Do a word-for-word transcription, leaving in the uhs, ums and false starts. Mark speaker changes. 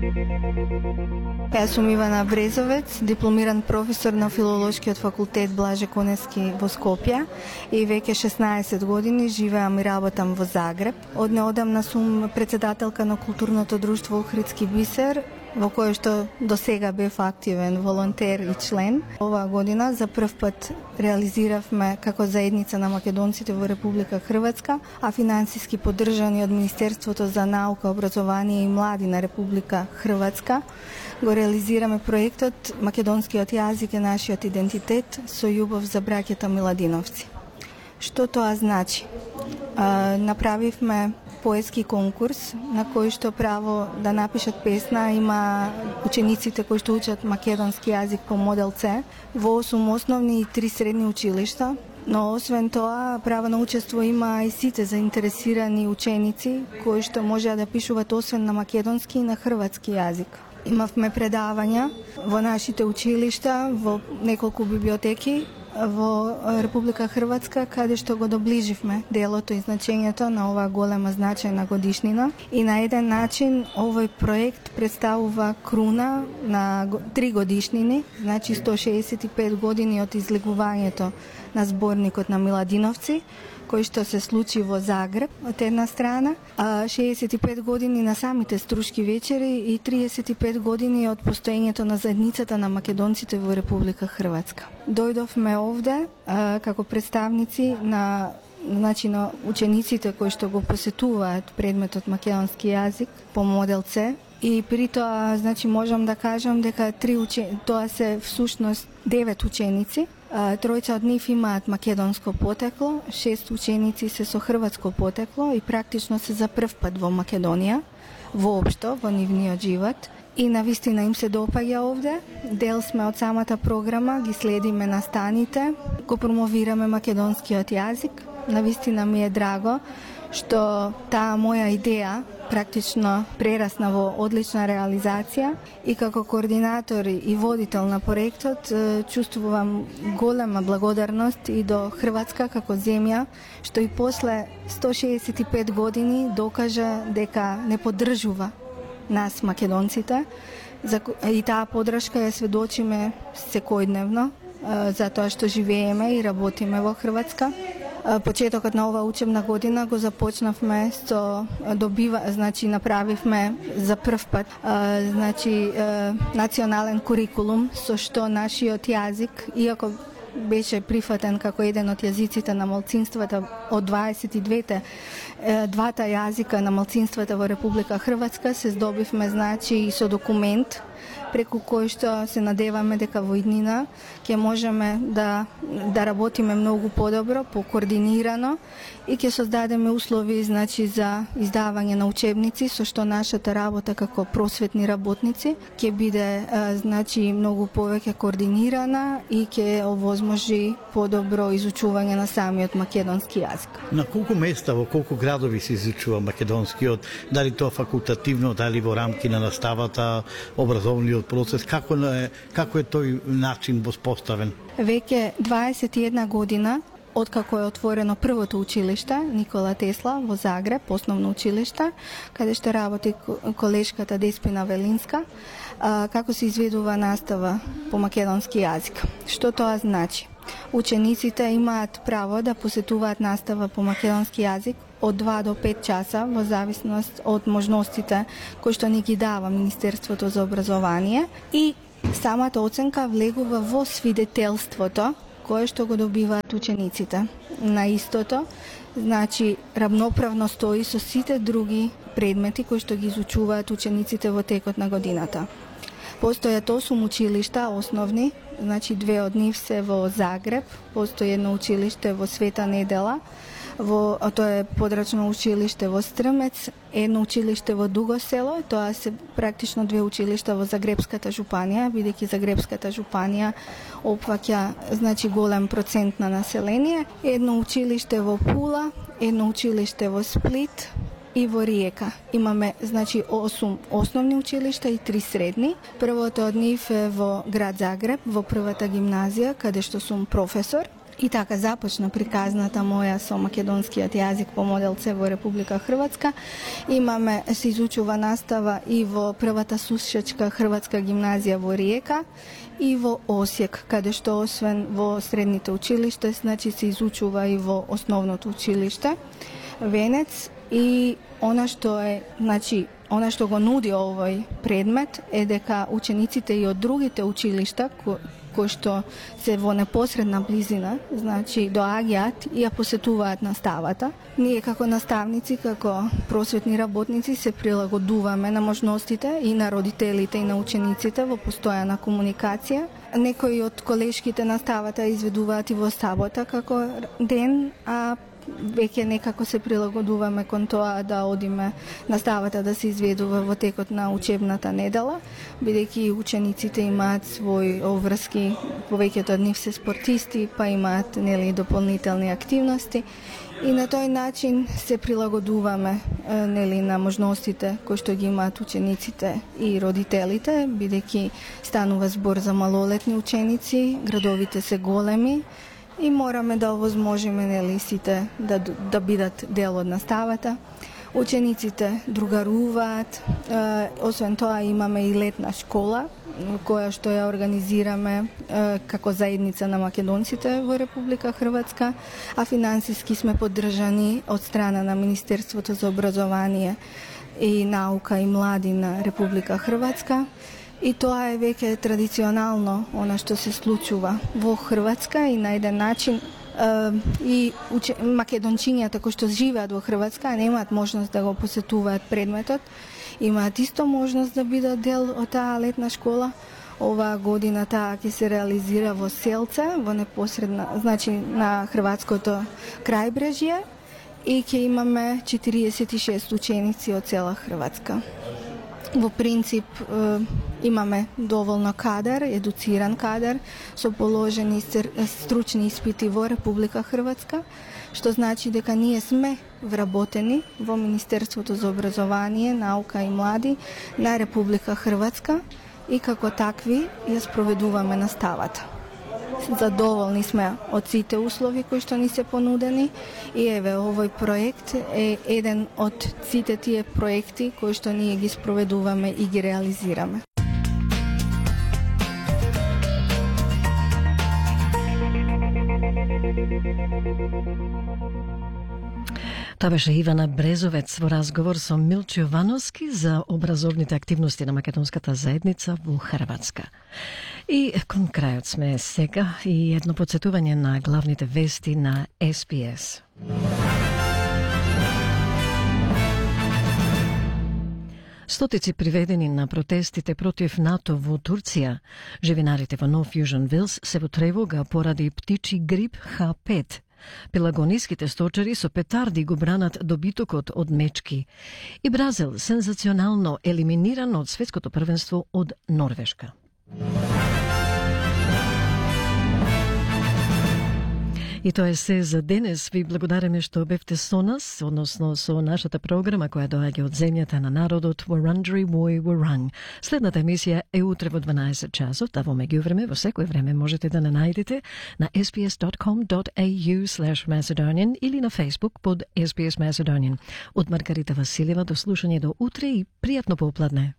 Speaker 1: Јас сум Ивана Брезовец, дипломиран професор на Филолошкиот факултет Блаже Коневски во Скопје и веќе шеснаесет години живеам и работам во Загреб. Од неодамна сум председателка на културното друштво Охридски бисер, во кое што до сега бев активен волонтер и член. Оваа година за прв пат реализиравме како заедница на македонците во Република Хрватска, а финансиски поддржани од Министерството за наука, образование и млади на Република Хрватска, го реализираме проектот Македонскиот јазик е нашиот идентитет со љубов за браќата Миладиновци. Што тоа значи? А, направивме поетски конкурс на кој што право да напишат песна има учениците кои што учат македонски јазик по модел С во осум основни и три средни училишта. Но освен тоа, право на учество има и сите заинтересирани ученици кои што можеа да пишуваат освен на македонски и на хрватски јазик. Имавме предавања во нашите училишта, во неколку библиотеки во Република Хрватска, каде што го доближивме делото и значењето на оваа голема значајна годишнина. И на еден начин овој проект представува круна на три годишнини, значи сто шеесет и пет години од излегувањето на зборникот на Миладиновци, кој што се случи во Загреб од една страна, а шеесет и пет години на самите Струшки вечери и триесет и пет години од постоењето на заедницата на македонците во Република Хрватска. Дојдовме овде а, како представници на значи на учениците кои што го посетуваат предметот македонски јазик по модел С. И при тоа, значи, можам да кажам дека три учени... тоа се всушност девет ученици. Тројца од нив имаат македонско потекло, шест ученици се со хрватско потекло и практично се за прв пат во Македонија, воопшто во нивниот живот. И навистина им се допаѓа овде. Дел сме од самата програма, ги следиме настаните, го промовираме македонскиот јазик. Навистина ми е драго што таа моја идеја практично прерасна во одлична реализација и како координатор и водител на проектот чувствувам голема благодарност и до Хрватска како земја, што и после сто шеесет и пет години докажа дека не поддржува нас македонците и таа поддршка ја сведочиме секојдневно затоа што живееме и работиме во Хрватска. Почетокот на оваа учебна година го започнавме со добива, значи направивме за прв пат значи национален курикулум со што нашиот јазик, иако беше прифатен како еден од јазиците на малцинствата од дваесет и двете двата јазика на малцинствата во Република Хрватска, се здобивме значи и со документ преку кој што се надеваме дека во иднина ќе можеме да да работиме многу подобро, покоординирано и ќе создадеме услови значи за издавање на учебници со што нашата работа како просветни работници ќе биде значи многу повеќе координирана и ќе овозможи подобро изучување на самиот македонски јазик.
Speaker 2: На колку места, во колку градови се изучува македонскиот, дали тоа факултативно, дали во рамки на наставата, образовниот процес, како е како е тој начин воспоставен?
Speaker 1: Веќе дваесет и една година откако е отворено првото училиште Никола Тесла во Загреб, основно училиште, каде што работи колешката Деспина Велинска, како се изведува настава по македонски јазик. Што тоа значи? Учениците имаат право да посетуваат настава по македонски јазик од два до пет часа во зависност од можностите кои што ни ги дава Министерството за образование и самата оценка влегува во свидетелството кое што го добиваат учениците. На истото, значи, равноправно стои со сите други предмети кои што ги изучуваат учениците во текот на годината. Постојат осум училишта основни, значи две од нив се во Загреб, постои едно училиште во Света Недела, во тоа е подрачно училиште во Стрмец, едно училиште во Дуго село, тоа се практично две училишта во Загребската жупанија, бидејќи Загребската жупанија опфаќа значи голем процент на население, едно училиште во Пула, едно училиште во Сплит и во Риека. Имаме значи осум основни училишта и три средни. Првото од нив е во град Загреб, во првата гимназија, каде што сум професор. И така започна приказната моја со македонскиот јазик по модел С во Република Хрватска. Имаме, се изучува настава и во првата сушачка хрватска гимназија во Риека и во Осијек, каде што освен во средните училиште, значи се изучува и во основното училиште Венец. И она што е, значи, она што го нуди овој предмет е дека учениците и од другите училишта ко, кои што се во непосредна близина, значи доаѓаат и ја посетуваат наставата. Ние како наставници, како просветни работници се прилагодуваме на можностите и на родителите и на учениците во постојана комуникација. Некои од колешките наставата изведуваат и во сабота како ден, а веќе некако се прилагодуваме кон тоа да одиме наставата да се изведува во текот на учебната недела, бидејќи учениците имаат своји обврски, повеќето од нив се спортисти, па имаат нели дополнителни активности и на тој начин се прилагодуваме нели на можностите кои што ги имаат учениците и родителите, бидејќи станува збор за малолетни ученици, градовите се големи и мораме да овозможиме нели сите да да бидат дел од наставата. Учениците другаруваат, е, освен тоа имаме и летна школа која што ја организираме е, како заедница на македонците во Република Хрватска, а финансиски сме поддржани од страна на Министерството за образование и наука и млади на Република Хрватска. И тоа е веќе традиционално она што се случува во Хрватска и на еден начин е, и уче, македончињата кои што живеат во Хрватска немаат можност да го посетуваат предметот, имаат исто можност да бидат дел од таа летна школа. Оваа година таа ќе се реализира во Селце, во непосредна, значи на хрватското крајбрежје и ќе имаме четириесет и шест ученици од цела Хрватска. Во принцип е, имаме доволно кадар, едуциран кадар со положени стручни испити во Република Хрватска, што значи дека ние сме вработени во Министерството за образование, наука и млади на Република Хрватска и како такви ја спроведуваме наставата. Задоволни сме од сите услови кои што ни се понудени и еве овој проект е еден од сите тие проекти кои што ние ги спроведуваме и ги реализираме.
Speaker 3: Тоа беше Ивана Брезовец во разговор со Милчо Јовановски за образовните активности на македонската заедница во Хрватска. И кон крајот сме сега и едно подсетување на главните вести на Ес Би Ес. Стотици приведени на протестите против НАТО во Турција. Живинарите во Нов Јужен Велс се во тревога поради птичи грип Х пет. Пелагониските сточари со петарди го бранат добитокот од мечки. И Бразил сензационално елиминиран од светското првенство од Норвешка. И тоа е се за денес. Ви благодариме што бевте со нас, односно со нашата програма која доаѓа од земјата на народот Wurundjeri Woi Wurrung. Следната емисија е утре во дванаесет часот, а во меѓувреме во секој време можете да не најдете на ес би ес точка ком точка ей ю слеш Macedonian или на Facebook под Ес Би Ес Macedonian. Од Маргарита Василева до слушање до утре и пријатно попладне.